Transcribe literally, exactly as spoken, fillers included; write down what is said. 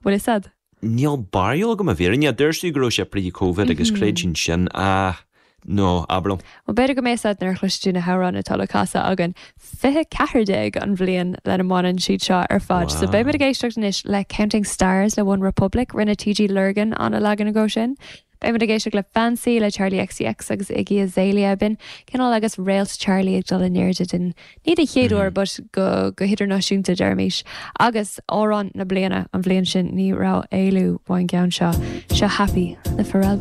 Bhfuil fhios a'd? Níl barúil agam i bhfírinne dúirt tú go raibh sé pre-Covid agus creidfinn sin ah no abair liom. Well b'fhéidir go mbeidh fhios a'd nuair a chloisfidh tú na hamhráin atá le casadh againn fiche ceathair déag an bhliain lena mbaineann siad seo ar fad. So beidh muid ag éisteacht anois le Counting Stars le One Republic, rinne TG Lurgan an leagan acu sin. Beidh muid ag éisteacht le Fancy le Charli XCX agus Iggy Azalea b'in cineál agus réalt Charli ag dul in airde den ní den chéad uair but go go hidirnáisiúnta deirmis. Agus amhrán na bliana an bhliain sin ní raibh éalú ón gceann seo seo Happy le Pharrell